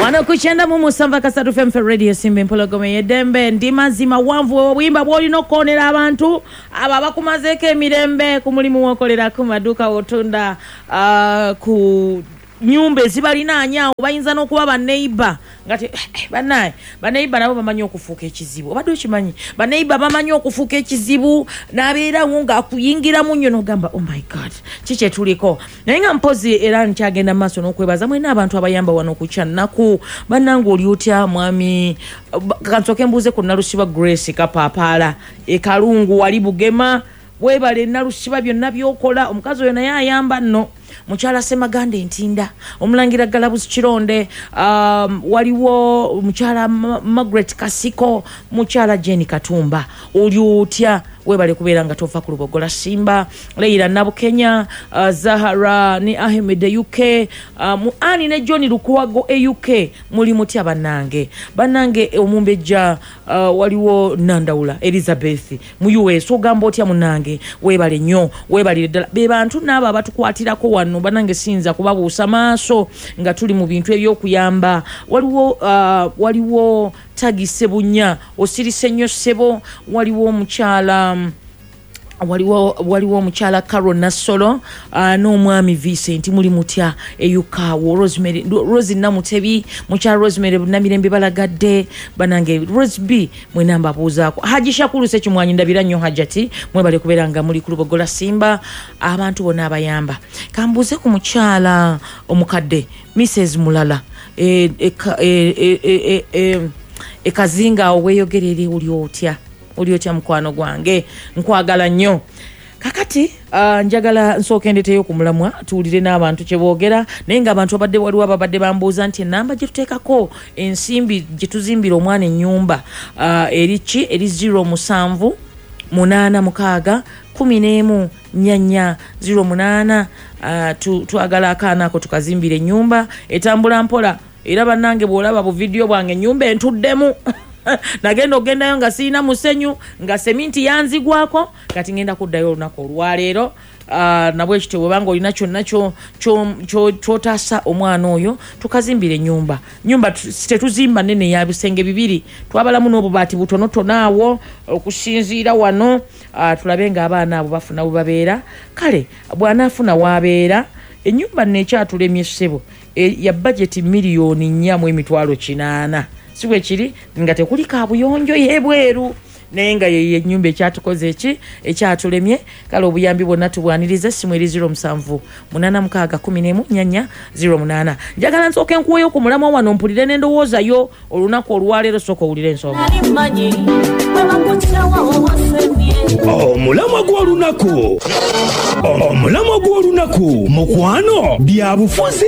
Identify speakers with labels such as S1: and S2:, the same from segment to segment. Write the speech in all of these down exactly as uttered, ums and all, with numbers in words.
S1: Wano kuchenda mu musanvu akasatu F M Radio Simba Empologoma y'eddembe. Ndi mazima wanvu obuyimba bw'olina okukoonera abantu abo abakumazeeko emirembe ku mulimu w'okolera, ku maduuka w'otunda, uh, ku nyumba ezibalinaanye awo, bayinza n'okuba baneiba nga te bannaye baneiba nabo bamanyi okufuuka ekizibu. Obadde okimanyi baneiba bamanyi okufuuka ekizibu, n'abeerawo ng'akuyingiramu nnyo n'ogamba oh my god, ki kye tuliko. Naye nga mpozi era nkyagenda mu maaso n'okwebaza mwena abantu abayamba wano ku Kyannaku. Bannange oli otya mwami? Kansooke mbuuze ku Nalusiba Grace Kapaapaala e Kalungu wali Bugema. Weebale Nalusiba byonna by'okola, omukazi oyo naye ayamba nno. Mukyala Semaganda Entinda, omulangira Galabuzi Kironde, um, waliwo mukyala Margaret Kasiko, mukyala Jenny Katumba, oli otya? Weebale kubeera nga tova ku Lubogola Simba, Leila Nabukenya, uh, Zahara ne Ahmed e U K, uh, mu Ani ne John Lukwago e U K, muli mutya bannange? Bannange omumbejja, uh, waliwo Nandawula Elizabeth mu U S, ogamba otya munnange? Weebale nnyo, weebalire ddala. Be bantu n'abo abatukwatirako wano bannange, siyinza kubabuusa maaso nga tuli mu bintu eby'okuyamba. Waliwo uh, waliwo Tagi Sebunya, osirise nnyo ssebo. Waliwo omukyala waliwo waliwo omukyala Carol Nassolo, uh, n'omwami Vincent, muli mutya eyukawo. Rosemary Rose Namutebi, mukyala Rosemary Namirembe Balagadde, banange Rose B mwena mbabuuzaako. Haji Shakuru Sekimwanyi, ndabira nnyo Hajati, mwebale kubeera nga muli ku Lubogola Simba, abantu bonna abayamba. Kambuuze ku mukyala omukadde Missus Mulala e, e, e, e, e, e, ekazinga awo weeyogerere, oli otya? Oli otya mukwano gwange? Nkwagala nnyo. Kakati uh, njagala nsooke ndeeteyo ku mulamwa tuwulire n'abantu kye boogera, naye ng'abantu abadde waliwo ababadde bambuuza nti ennamba gye tuteekako ensimbi gye tuzimbira omwana ennyumba uh, eri ki? Eri zero musanvu munaana mukaaga kumi n'emu nnya nnya zero munaana. Uh, tu, twagala akaana ako tukazimbira ennyumba etambula mpola. Era bannange bw'olaba bu vidiyo bwange ennyumba entuddemu. Nagenda ogendayo nga sirina musenyu, nga seminti yanzigwako, kati ngenda kuddayo olunaku olwaleero. Uh, nabwe kityo bw'obanga olina kyonna ky'otaasa omwana oyo, tukazimbira ennyumba. Nyumba tetuzimba nnene ya bisenge bibiri, twabalamu n'obubaati butonotono awo okusinziira wano, uh, tulabe ng'abaana abo bafuna we babeera. Kale bw'anaafuna w'abeera, ennyumba nno ekyatulemye ssebo, e, ya bajeti miliyoni nnya mu emitwalo kinaana, si bwe kiri? Nga tekuli kaabuyonjo y'ebweru, naye nga ye ennyumba ekyatukoze eki ekyatulemye. Kale obuyambi bwonna tubwanirize. Essimu eri zero musanvu munaana mukaaga kumi n'emu nnya nnya zero munaana. Njagala nsooke nkuweeyo ku mulamwa wano mpulire n'endowooza yo olunaku olwaleero. Sooka owulire ensonga.
S2: Omulamwa gw'olunaku, omulamwa gw'olunaku, mukwano, bya bufuzi,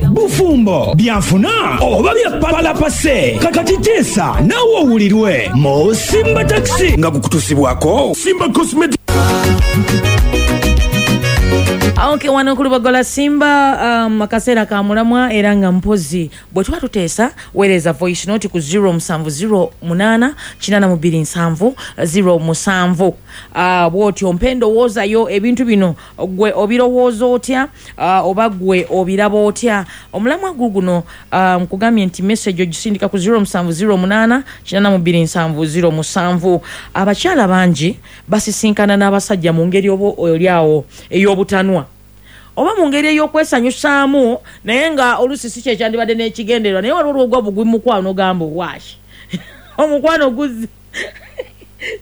S2: bufumbo, byanfuna oba bya palapase. Kakati teesa naawe owulirwe mu Simba Taxi nga gukutusibwako Simba Cosmetic.
S1: Okay, wano ku Lubogola Simba, um, akaseera ka mulamwa era nga mpozi bwe tuba tuteesa, weereza voice note ku zero musanvu zero munaana kinaana mu bbiri nsanvu zero musanvu. Uh, bw'otyo mpa endowoozayo, ebintu bino gwe obirowooza otya, uh, oba gwe obiraba otya? Omulamwa guguno nkugambye um, nti message ogisindika ku zero musanvu zero munaana kinaana mu bbiri nsanvu zero musanvu. Abakyala bangi basisinkana n'abasajja mu ngeri oba oli awo ey'obutanwa oba mu ngeri ey'okwesanyusaamu, naye nga oluusi si kye kyandibadde n'ekigendererwa, naye waliwo olwogwa bugwi mukwano ogamba waashi omukwano guzze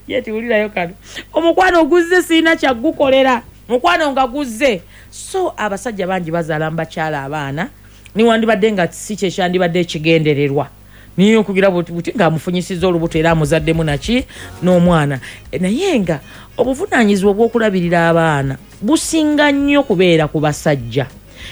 S1: ye tiwulirayo kano, omukwano guzze sirina kyagukolera, mukwano nga guzze. So abasajja bangi bazaala mu bakyala abaana, niwandibadde nga si kye kyandibadde ekigendererwa, niye okugira buti ng'amufunyisizza olubuto era amuzaddemu naki n'omwana, naye nga obuvunaanyizibwa obw'okulabirira abaana businga nnyo kubeera ku basajja.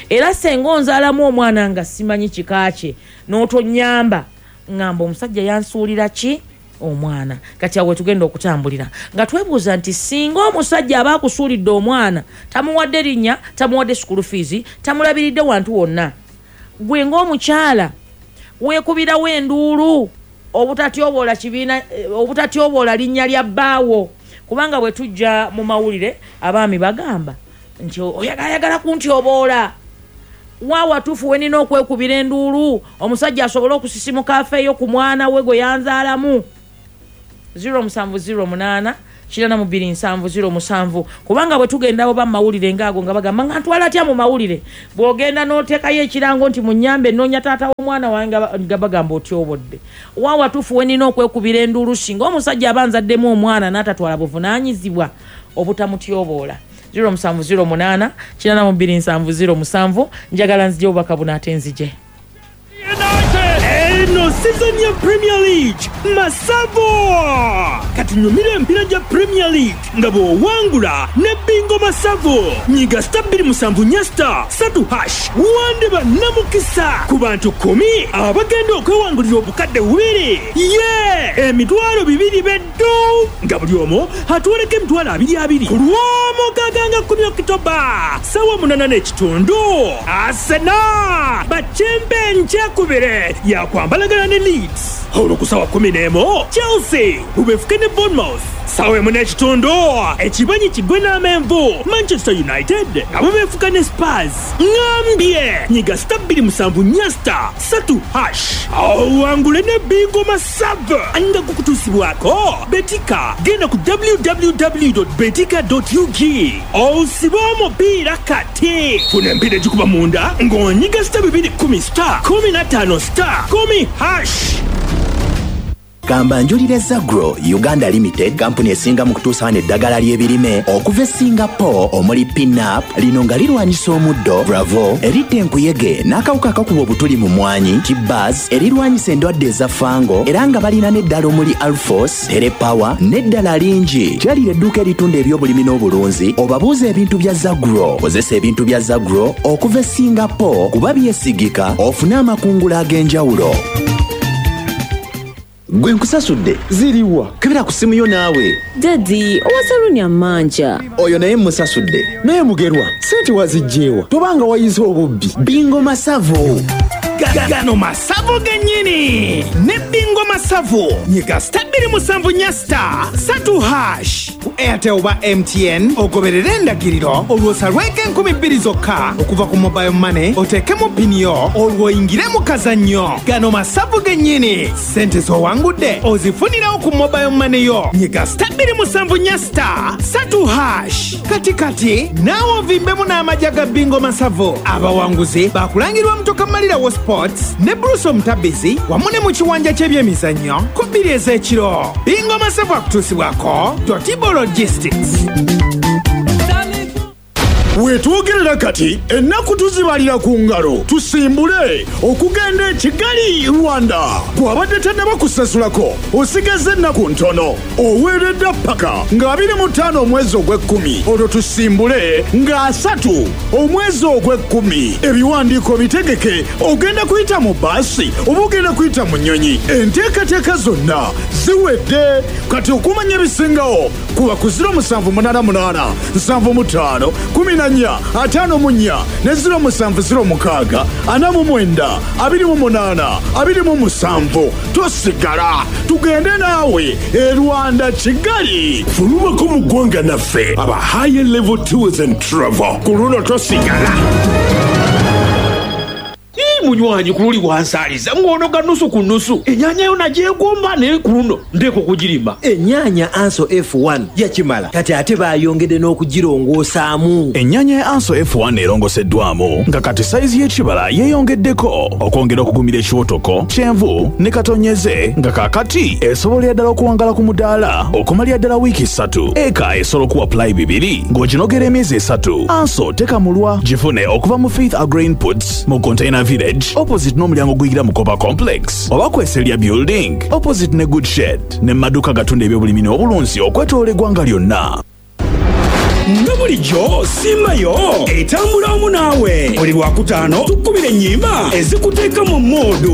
S1: Era senga onzaalamu omwana nga simanyi kika kye n'otonyamba, ngamba omusajja yansuulira ki omwana. Kati awo tugenda okutambulira nga twebuuza nti singa omusajja aba akusuulidde omwana, tamuwadde linnya, tamuwadde school fees, tamulabiridde wantu wonna, gwe ng'omukyala weekubirawo enduulu obutatyoboola kibiina, obutatyoboola linnya lya bbaawo. Kubanga bwe tujja mu mawulire abaami bagamba nti oyagala kuntyooboola, Wa watuufu we nina okwekubira enduulu omusajja asobole okusisimuka afeeyo ku mwana we gwe yanzaalamu? zero musanvu zero munaana kirana mu bbiri nsanvu zero musanvu. Kubanga bwe tugenda oba mu mawulire ngaago nga bagamba nga ntwala atya mu mawulire, bw'ogenda n'oteekayo ekirango nti munyambe nnoonya taata w'omwana wange, nga bagamba otyobodde. Wa watuufu we nina okwekubira enduulu singa omusajja aba nzaddemu omwana n'atatwala buvunaanyizibwa obutamutyoboola? zero musanvu zero munaana kirana mu bbiri nsanvu zero musanvu. Njagala nzije obubaka buno ate nzije.
S2: Eno season ya Premier League masavu. Katunyumire empiira gya Premier League nga bw'owangula ne bingo masavu. Nyiga star bbiri musanvu nnya star satu hash, wandeba namukisa ku bantu kumi abagenda okwewangulira obukadde bubiri, ye emitwalo bibiri beddu, nga buli omu atwaleko emitwalo abiri abiri ku lw'omukaaga nga kkumi Okitoba sawa munana n'ekitundu. Arsenal bakembe nkyakubire yakwambalagana ne Leeds. Olwo ku sawa kumi n'emu Chelsea bubefuke ne Bournemouth. Sawa emu n'ekitundu ekibanyi kigwe n'amenvu, Manchester United nga bubefuka ne Spurs. Ŋambye nyiga star bbiri musanvu nnya star satu hash owangule ne bingo masavu nga gukutuusibwako Betika. Genda ku W W W betika ug osibe omupiira kati. Funa empiira egikuba munda ng'onyiga star bibiri kumi star kumi na ttaano star kumi hash.
S3: Gamba njulira Zagro Uganda Limited, kampuni esinga mu kutuusa wano eddagala ly'ebirime okuva e Singapore, omuli Pinap lino nga lirwanyisa omuddo, Bravo eritta enkuyege n'akawuka akakuba obutuli mu mwanyi, Tibaz erirwanyisa endwadde eza fungal, era nga balina n'eddala omuli Alfos, Telepower n'eddala lingi. Kyalira edduuka eritunda ebyobulimi n'obulunzi obabuuza ebintu bya Zagro. Kozesa ebintu bya Zagro okuva e Singapore kuba byesigika, ofune amakungula ag'enjawulo. Gwe nkusasudde.
S4: Ziriwa?
S3: Kebera ku simu yo naawe.
S5: Daddy, owa saluni amanja.
S3: Oyo naye musasudde.
S4: Naye Mugerwa, sente wazigyewa? Tobanga wayize obubbi.
S3: Bingo masavu.
S2: Gano masavu gennyini ne bingo masavu. Nyiga star bbiri musanvu nnya star satu hash
S6: ku Airtel oba M T N, ogoberere endagiriro, olwo osalweko enkumi bbiri zokka okuva ku mobile money, oteekemu pini yo, olwo oyingire mu kazannyo. Gano masavu gennyini. Sente z'owangudde ozifunirawo ku mobile money yo. Nyiga star bbiri musanvu nnya star satu hash kati kati naawe ovimbemu n'amagya ga bingo masavu. Abawanguzi bakulangirwa mutoka malirawo Sports ne Bruce Omutabizi wamu ne mu kiwanja ky'ebyemizannyo ku bbiri ez'ekiro. Bingo masavu akutuusibwako Totibo Logistics.
S7: Weetwogerera kati ennaku tuzibalira ku ngalo tusimbule okugenda e Kigali, Rwanda. Bw'abadde tannaba kusasulako, osigaza ennaku ntono. Oweeredda paka nga abiri mu ttaano omwezi ogw'ekkumi, olwo tusimbule nga asatu omwezi ogw'ekkumi. Ebiwandiiko bitegeke. Ogenda kuyita mu baasi oba ogenda kuyita mu nnyonyi? Enteekateeka zonna ziwedde kati. Okumanya ebisingawo kuba ku zero musanvu munaana munaana nsanvu mu ttaano kumi na nnya ataano mu nnya ne zero musanvu zero mukaaga ana mu mwenda abiri mu munaana abiri mu musanvu. Tosigala, tugende naawe e Rwanda, Kigali.
S8: Fulumako mu ggwanga naffe aba High Level Tours and Travel. Ku luno tosigala.
S9: Munywanyi, ku luli wansaaliza ng'onoga nusu ku nusu. Ennyaanya yo nagyegomba, naye ku luno ndeeka okugirima.
S10: Ennyaanya Anso F one yakimala, kati ate baayongedde n'okugirongoosaamu.
S11: Ennyaanya ya Anso F one erongoseddwamu nga kati sayizi y'ekibala yeeyongeddeko okwongera okugumira ekiwotoko, kyenvu ne katonyeze, nga kaakati esobolera ddala okuwangala ku mudaala okumalira ddala wiiki ssatu. Eka esobola okuwa pulayi bibiri ng'oginogera emyezi esatu. Anso tekamulwa. Gifune okuva mu Faith Agro Inputs mu Container Village, opposite n'omulyango oguyingira mu Copa Complex, oba Kweselya Building opposite ne Good Shed, ne maduuka gatunda ebyobulimi n'obulunzi okwetoola eggwanga lyonna.
S2: Nga bulijjo Simbayo etambula wamu naawe buli Lwakutaano. Tukubira ennyimba ezikuteeka mu mood.